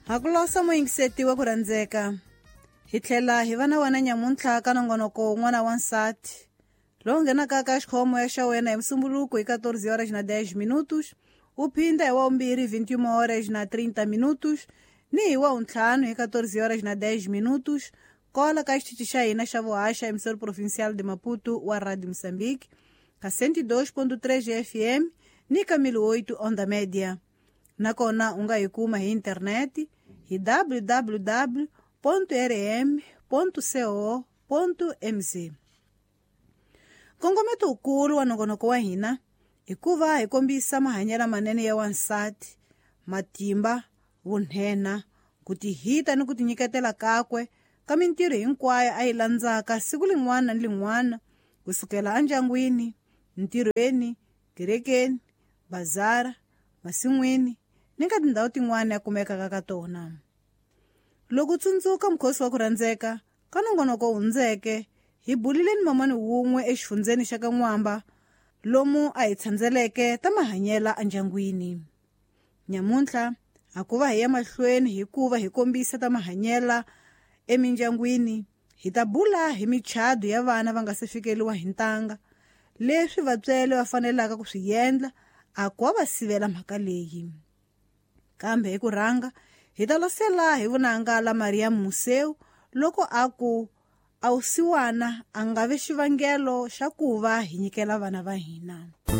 Hakulosa muyingiseti wa ku rhandzeka hi tlhela hi va na wena nyamuntlha ka nongonoko wun'wana wa nsati lowu nghenaka ka xikhomo xa wena hi musumbuluko hi 14 horas na 10 minutos, wu phinda hi wa vumbirhi 21 horas na 30 minutos ni hi wa wuntlhanu hi 14 horas na 10 minutos kola ka xitichi xa hina xa vuhaxa emissor provincial de Maputo wa Radio Moçambique ka 102.3 FM ni ka 1008 onda média. Nakona u nga hi kuma hi interneti hi www.rm.co.mz. Nkongometo wukulu wa nongonoko wa hina i ku va hi kombisa mahanyelo manene ya wansati, matimba, vunhenha, ku tihita ni ku tinyiketela kakwe ka mintirho hinkwayo a yi landzaka siku lin'wana ni lin'wana kusukela endyangwini, ntirhweni, kerekeni, bazara, masin'wini ni ka tindhawu tin'wana ya kumekaka ka tona. Loko u tsundzuka mukhosi wa ku rhandzeka ka nongonoko hundzeke hi bulile ni mamani wun'we exifundzeni xa ka N'wamba lomu a hi tshandzeleke ta mahanyela endyangwini. Nyamuntlha a ku va hi ya mahlweni hikuva hi kombisa ta mahanyela emindyangwini, hi ta bula hi michado ya vana va nga se fikeliwa hi ntanga, leswi vatswele va fanelaka ku swi endla a ku va sivela mhaka leyi. Kambe hi ku rhanga hi ta losela hi vunanga la Maria Museu loko a ku a wusiwana a nga vi xivangelo xa ku va hi nyikela vana va hina.